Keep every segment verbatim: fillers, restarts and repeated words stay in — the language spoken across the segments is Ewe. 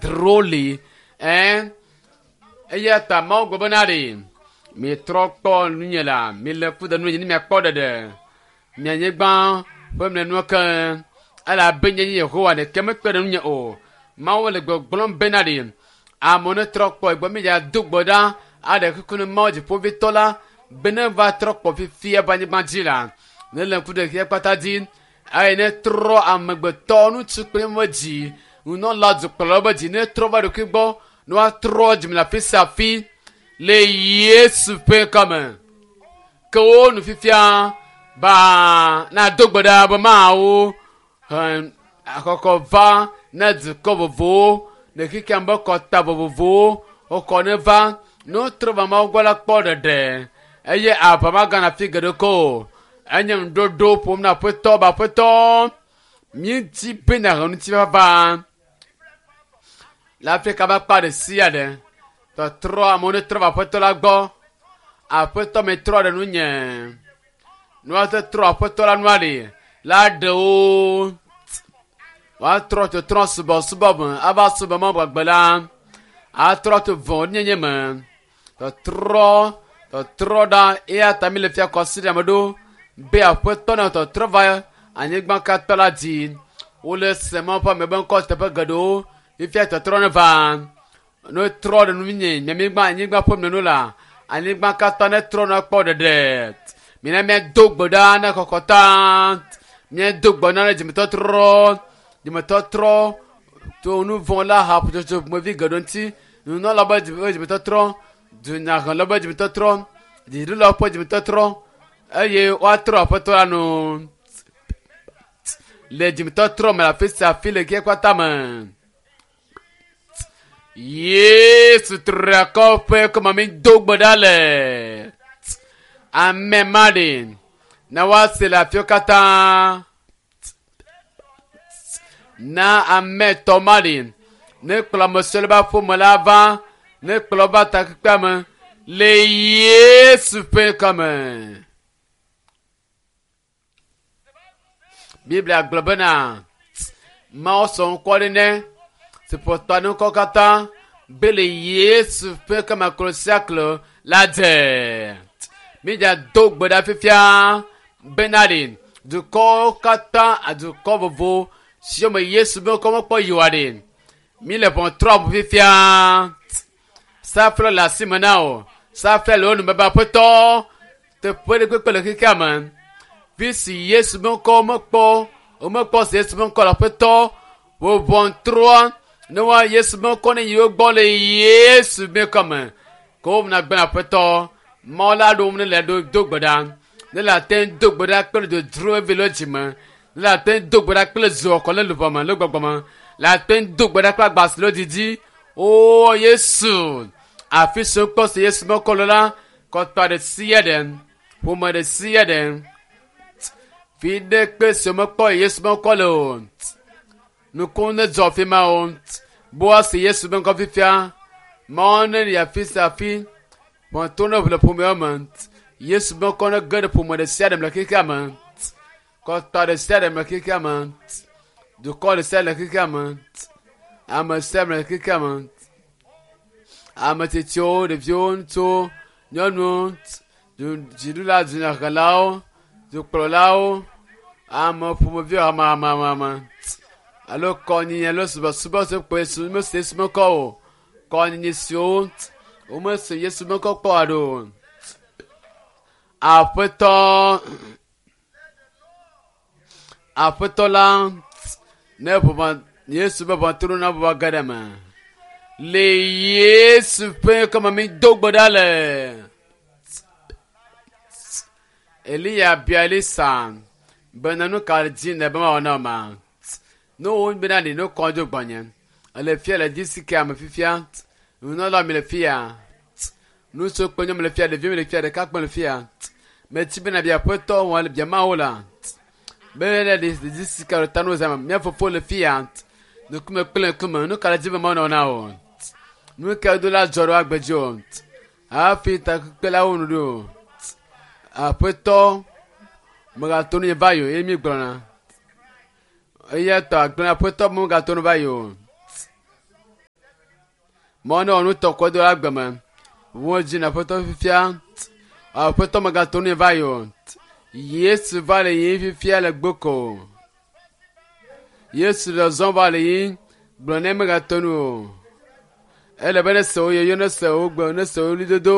dodro li ɛ eya ta Mawu gblɔ bena ɖe mitrɔ kpɔ nunye la mile ku ɖe nunye ne miakpɔ ɖeɖe mia nyigba ƒe mlɔenua ke elabe nye nye Yehowa ɖeke mekpe ɖe nunye o. Mawu le gbɔgblɔm bena ɖe amewo ne trɔ kpɔ egbɔ mi dza do gbe ɖa aɖe kuku ne Mawu dziƒovitɔ la be ne va trɔ kpɔ fifia be anyigba dzi la ne le ŋku ɖe xexea kpata dzi eye ne trɔ amegbetɔ ŋutsu kple nyɔnuwo dzi nunɔla dukplɔlawo be dzi ne trɔ va ɖokui gbɔ ne woatrɔ dzime le afi sia afi le Yesu ƒe ŋkɔme. Ke wo nu fifia ba na do gbe ɖa be Mawu he akɔkɔ va ne dukɔ vovovowo le xexea me be kɔta vovovowo wokɔ ne va ne wotrɔ va Mawu gbɔ la kpɔ ɖeɖe eye aʋa magana afi geɖe ko o. Enye nuɖoɖo ƒom na aƒetɔ be aƒetɔ míedi be nàhe ŋutifafa le Afrika ƒe akpa ɖe sia ɖe. Tɔtrɔ amewo ne trɔ va aƒetɔ la gbɔ. Aƒetɔ metrɔ ɖe nunye. Ne woate trɔ aƒetɔ la nua ɖe la ɖe wo. Woatrɔ tɔtrɔ subɔsubɔ me ava subɔ Mawu gbagbe la. Atrɔ to vɔ̃ɖinyenye me. Tɔtrɔ tɔtrɔ ɖa eya ta mi le fia kɔsiɖa me ɖo be aƒetɔ na tɔtrɔ va anyigba katã la dzi. Wole se Mawu ƒe ame be ŋkɔ teƒe geɖewo fifia tɔtrɔ ne va. Ne trɔ ɖe nunye nye anyigba anyigba ƒe mlɔenu la anyigba katã ne trɔ ne kpɔ ɖeɖe. Mina míado gbe ɖa ne kɔkɔta. Míado gbe ɖa ne dzimetɔtrɔ. Dzimetɔtrɔ to nu vɔ̃ la haƒotsotso ƒomevi geɖewo ŋuti. Nunɔla be dzimetɔtrɔ, dunyahela be dzimetɔtrɔ, dziɖulawo ƒe dzimetɔtrɔ eye woatrɔ aƒetɔ la nu le dzimetɔtrɔ me le afi sia afi le xexea katã me. Yesu triakɔ ƒe ŋkɔme mi do gbe ɖa le. Ame ma ɖe na woase le afiwo katã. Na ame etɔ̃ ma ɖe ne kplɔ ame siwo le be aƒeme la va ne kplɔ va takpekpea me le Yesu ƒe ŋkɔme. Biblia gblɔ bena Mawu sɔ ŋkɔ ɖe ne si ƒo ta ne ŋkɔ katã be le Yesu ƒe ŋkɔme klo sia klo la dze. Mídza do gbe ɖa fifia bena ɖe dukɔwo katã dukɔ vovo siwo me Yesu be ŋkɔ mekpɔ yi oa ɖe mi le ʋɔtrɔ ʋu fifia. Safle le asi me na o. Safle le wo nu me be aƒetɔ teƒe ɖe kpekpe le xexea me. Fi si Yesu be ŋkɔ mekpɔ womekpɔ se Yesu be ŋkɔ le aƒetɔ wo ʋɔtrɔa ne woa Yesu be ŋkɔ ne yi wo gbɔ le Yesu be ŋkɔ me. Ke wo na gbe aƒetɔ Mawu la ɖo ne le ɖo do gbe ɖa. Ne le ate ŋu do gbe ɖa kple dodro evi le dzime. Ne le ate ŋu do gbe ɖa kple zɔ le luʋɔ me le gbɔgbɔ me. Le ate ŋu do gbe ɖa kple agbasi le didi. O Yesu afi si wokpɔ se Yesu be ŋkɔ le la kɔtɔ ɖe sia ɖe ƒome ɖe sia ɖe fi ɖe kpe si womekpɔ Yesu be ŋkɔ le o. Nuku ne dzɔ fi ma o. Boa se Yesu be ŋkɔ fifia. Mawu ne yi afi sia afi. Ʋɔtro ne ʋu le ƒomeawo me. Yesu be ŋkɔ ne ge ɖe ƒome ɖe sia ɖe me le xexea me. Kɔtɔ ɖe sia ɖe me le xexea me. Dukɔ ɖe sia ɖe le xexea me. Ame sia ame le xexea me. Ame tsitsiwo, ɖeviwo, ŋutsuwo, nyɔnuwo, dziɖula, dunyahelawo, dukplɔlawo, ame ƒomeviwo hamamamame alo kɔnyinyi alo subɔsubɔ si kpɔ Yesu mese Yesu be ŋkɔ o. Kɔnyinyi siwo womese Yesu be ŋkɔ kpɔ haɖe o. Aƒetɔ aƒetɔ la ne ʋɔʋɔ Yesu be ʋɔtru na ʋɔʋɔ ge ɖe me. Le Yesu ƒe ŋkɔme mi do gbe ɖa le. Eliya bia Elisa bena nu ka dzi ne be mawɔ na wò ma. Ne wo bena ɖe ne kɔ dzo gbɔnye. Ele fia le dzi si ke ame fifia. Nunɔla mi le fia. Ŋutsu kple nyɔnu le fia, ɖevi mi le fia, ɖekakpui le fia. Metsi bena bia aƒetɔ wɔ le bia Mawu la. Be ne ɖe dzi si ke le ta no zama. Mía fofo le fia. Ŋkume kple ŋkume. Nu ka le dzi be mawɔ na wò? Nu ka do la dzɔ ɖe agbe dzi o? Hafi takpekpe la wo nu ɖo. Aƒetɔ megato nu nye va yi o eye mi gblɔna. Eya tɔ agblẽ aƒetɔ megato nu va yi o. Mɔ ne wɔ nu tɔ kɔ do la gbeme. Wo dzi na aƒetɔ fifia. Aƒetɔ megato ne va yi o. Yesu va le yiyim fifia le gboko. Yesu le zɔm va le yiyim gblɔ ne megato nu o. Ele be ne se wo yoyo, ne se wo gbe, ne se wo ɣlidodo,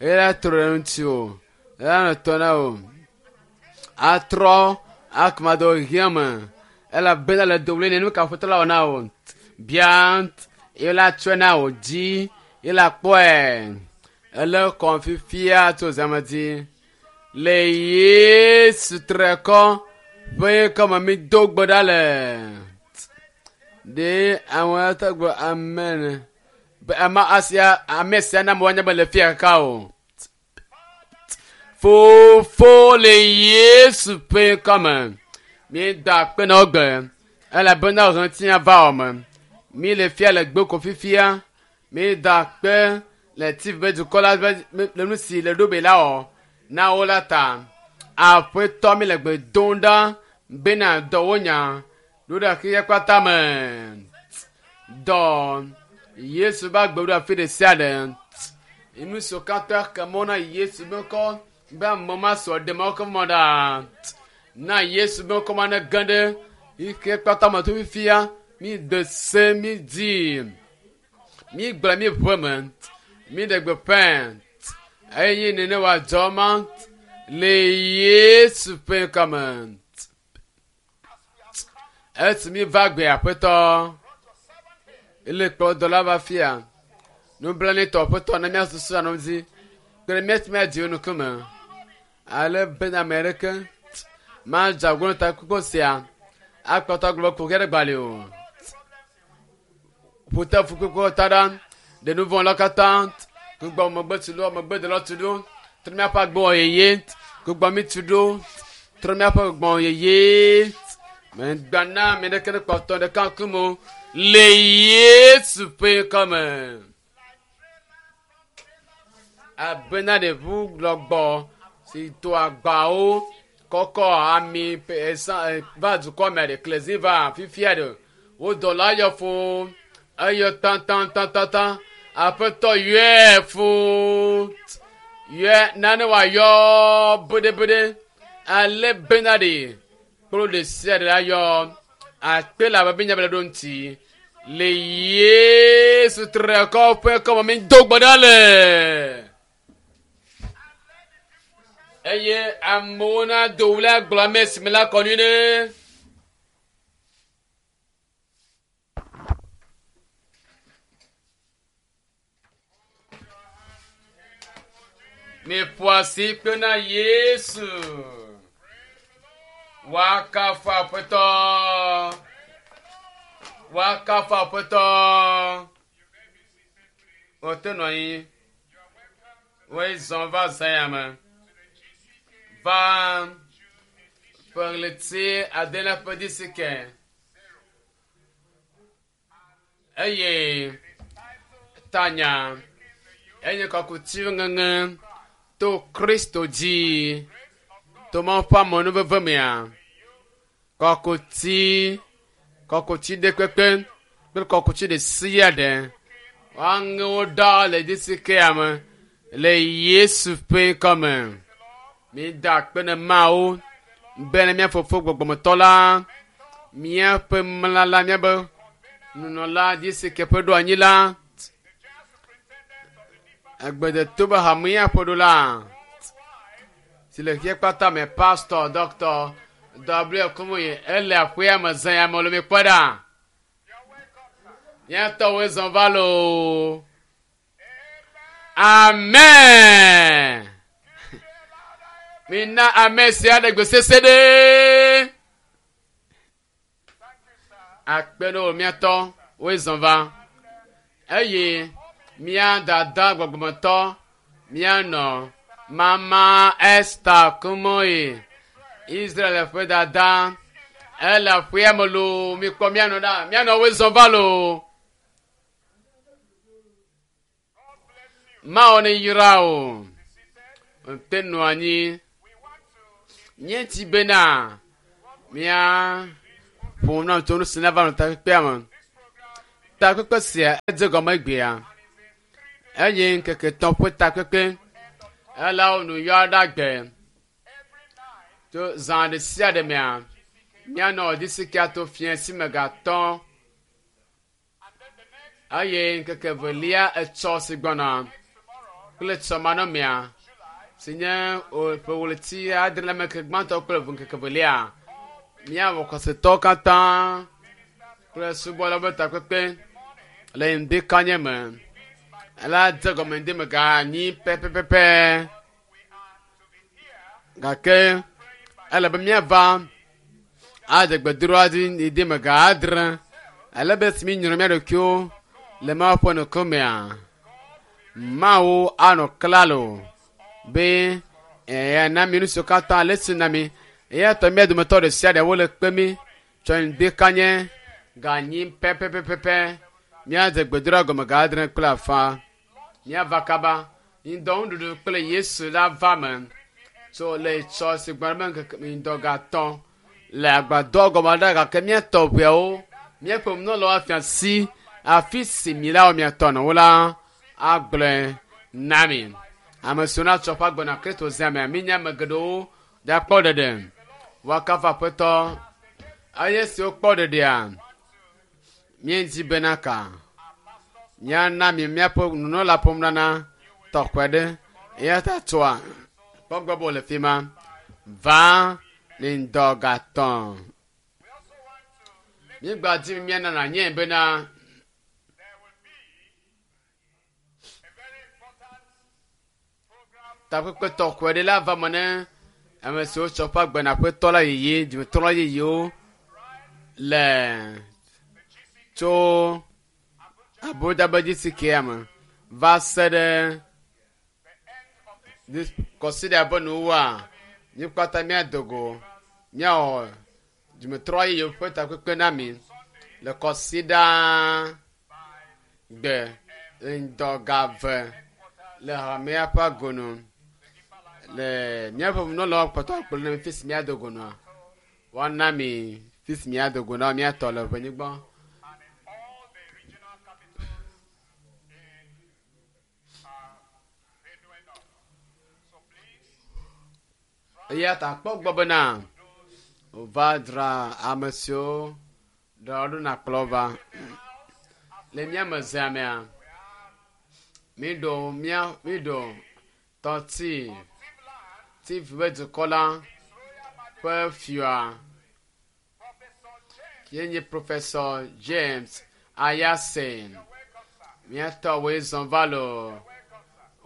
eye la trɔ ɖe ŋuti o. Ela nɔ tɔ na o. Atrɔ akuma do hiã me. Elabena le do ɣli ne nu ka aƒetɔ la wɔ na o. Bia ye la tsɔe na wò dzi ye la kpɔe. Ele kɔm fifia tso zãme dzi. Le Yesu trekɔ ƒe ŋkɔme mi do gbe ɖa le. Ɖe ame ate gblɔ amen. Be ama asia ame sia na amewo anya be le fia kaka o. Fofo le Yesu ƒe ŋkɔme. Mi da akpe na wo gbe. Elabena ɣletinya va wɔ me. Mi le fia le gboko fifia. Mi da akpe le T V be dukɔ la be le nu si le ɖo be la wɔ na wo la ta. Aƒetɔ mi le gbe dom ɖa bena dɔ wo nya ɖo ɖe xexea kpata me. Dɔ Yesu be agbe ɖo afi ɖe sia ɖe. Nu siwo katã ke mɔ na Yesu be ŋkɔ be ame ma sɔ ɖe Mawu ƒe mɔ ɖa. Na Yesu be ŋkɔ ma ne ge ɖe xexea kpata me to fifia. Mi de se, mi di. Mi gblɔ mi ʋe me. Mi ɖe gbeƒã. Eye nene wòadzɔ ma le Yesu ƒe ŋkɔme. Esi mi va gbe aƒetɔ. Ele kplɔ dɔla va fia. Nublanuitɔ aƒetɔ ne míasusu anɔ dzi. Kple mía mía dziwo ŋkume. Ale bena ame aɖeke madze agbo na takpekpe sia akpɔtɔ agblɔ be kuxi aɖe gbali o. Ƒute fukpekpewo ta ɖa. Ɖe nu vɔ̃ la katã. Gbugbɔ megbe tu ɖo, megbe de la tu ɖo. Trɔ míaƒe agbewɔ yeye. Gbugbɔ mi tu ɖo. Trɔ míaƒe gbɔgbɔ yeye. Megba na ame ɖeke ne kpɔtɔ ɖeka ŋkume o. Le Yesu ƒe ŋkɔme. Abena ɖevu lɔgbɔ si to agbawo kɔkɔ ami pe esa va dukɔ me ɖe klezi va fifia ɖe. Wo dɔla yɔ fo. Eyɔ tãtãtãtã. Aƒetɔ yɔe fo. Yɔe nane wòayɔ beɖebeɖe. Ale bena ɖe kplo ɖe sia ɖe la yɔ. Akpe le abe nya be le ɖo ŋuti. Le Yesu trekɔ ƒe ŋkɔme mi do gbe ɖa le. Eye amewo nado ɣli agblɔ ame si me la kɔ nyuie ɖe. Miƒo asi kpe na Yesu. Woakafu Aƒetɔ. Woakafu Aƒetɔ. Wote nɔ anyi. Woezɔ va zã ya me. Va ƒe ɣleti adelia ƒe disike. Eye tanya enye kɔkuti ŋeŋe to Kristo dzi. To Mawu ƒe amenuveve mea. Kɔkuti, kɔkuti ɖe kpekpe kple kɔkuti ɖe sia ɖe. Woaŋe wo ɖa le disikea me le Yesu ƒe ŋkɔme. Mi da akpe ne Mawu bena mía fofo gbɔgbɔmetɔ la, míaƒe mlala, míaƒe nunɔla disike ƒe ɖo anyi la, egbedeto be hamea ƒe ɖo la, si le xexea kpata me, pastor, doctor W. Kumuyi, ele aƒea me zã ya me le mi kpɔ ɖa. Mía tɔwoe zɔ va loo. Amen. Mina ame sia ɖe gbe sese ɖe. Akpe ɖe wò mía tɔ woe zɔ va. Eye mía dada gbɔgbɔmetɔ míanɔ Mama Esther Kumuyi, Israel ƒe dada. Ele aƒea me loo. Mikpɔ míanɔ ɖa. Míanɔ woe zɔ va loo. Mawu ne yra o. Te nɔ anyi. Míeti bena mía ƒo nu tso nu si nava nɔ takpekpea me. Takpekpe sia edze gɔme egbea. Eye ŋkeke tɔ̃ ƒe takpekpe ela wo nu yɔ ɖe gbe. Tso zã ɖe sia ɖe mea, míanɔ disikia to fiẽ si me gatɔ eye ŋkeke evelia etsɔ si gbɔna kple tsɔmanɔmea si nye ƒe ɣleti adre le ŋkeke gbãtɔ kple ŋkeke evelia míawɔ xɔsetɔwo katã kple subɔlawo ƒe takpekpe le ŋdikanye me ela dze gɔme ŋdi me ga anyi pɛpɛpɛpɛ gake ele be míava adze gbedoɖa dzi ŋdi me ga adre ele be esi míenyrɔ mía ɖokuiwo le Mawu ƒe ŋkumea Mawu anɔ klalo be eya mi nu siwo katã le esi na mi eya ta mía dometɔ ɖe sia ɖe wole kpe mi tsɔ ŋdikanye ga anyi pɛpɛpɛpɛ míadze gbedoɖa gɔme ga adre kple afã míava kaba ŋdɔ nuɖuɖu kple Yesu la va me tso le tsɔ si gbɔna be ŋkeke ŋdɔ ga atɔ̃ le agbadɔ gɔme ɖa gake míatɔ ʋeawo míaƒe nunɔlawo afia si afi si mi la wɔ miatɔ nɔwo la agblɔe na mi ame siwo natsɔ ƒe agbe na Kristo zia mea mínya ame geɖewo ɖakpɔ ɖeɖe woakafu aƒetɔ eye siwo kpɔ ɖeɖea míedzi bena ka míana mi míaƒe nunɔla ƒe nunana tɔxɛ ɖe eya ta tsoa kpɔ gbɔ be wòle fi ma va le ŋdɔ gatɔ̃ míegba di míana nanye bena takpekpe tɔxɛ ɖe la va me ne ame siwo tsɔ ƒe agbe na aƒetɔ la yeye dzimetrɔ yeyewo le tso abodabedzisi me va se ɖe kɔsiɖa ƒe nuwua mí kpata míado go míawɔ dzimetrɔ yeyewo ƒe takpekpe na mi le kɔsiɖa gbe ŋdɔ ga eve le hamea ƒe agonu le míaƒe nunɔlawo kpɔtɔ kplɔ na mi fi si míado go nɔa woana mi fi si míado go na míatɔ le ʋenyigba. Eya ta kpɔ gbɔ bena wòva dzra ame siwo ɖe ɖo na kplɔ va le mía me zea mea míɖo mía míɖo tɔti Tiv ƒe dukɔ la ƒe fia ye nye Professor James Ayasen. Míatɔ woe zɔn va loo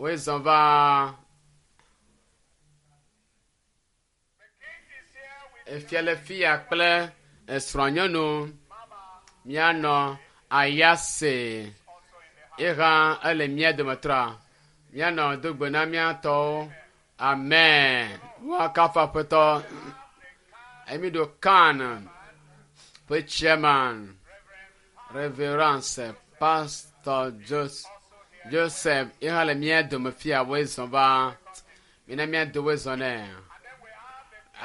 woe zɔn va efia le fia kple esrɔ̃nyɔnu míanɔ Ayase ye hã ele mía dometɔa míanɔ do gbe na míatɔwo amen woakafu aƒetɔ emi ɖo kan ƒe chairman reverence pastor Jos Joseph ye hã le mía dome fia woe zɔn va mina mía do woe zɔn nɛ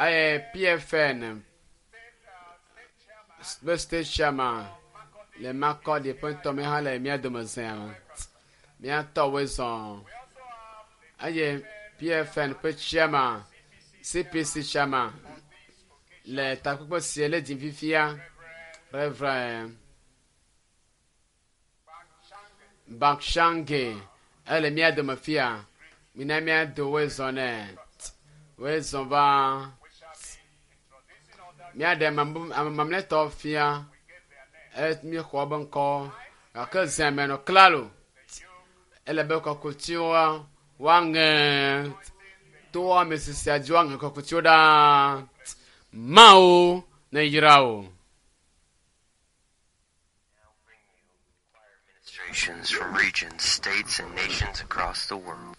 eye PFN ƒe state chairman le Makɔdi ƒe ŋutɔ me hã le mía dome zea me míatɔ woe zɔn eye PFN ƒe chairman CPC chairman le takpekpe sie le dzim fifia Reverend Bakshange ele mía dome fia mina míado woe zɔn nɛ woe zɔn va míaɖe ame mamlɛtɔ fia e míexɔ be ŋkɔ gake zea me nɔ klalo ele be kɔkutiwo woaŋe to ame sisia dzi woaŋe kɔkutiwo ɖaa Mawu ne yra wo. Ministrations from regions, states, and nations across the world.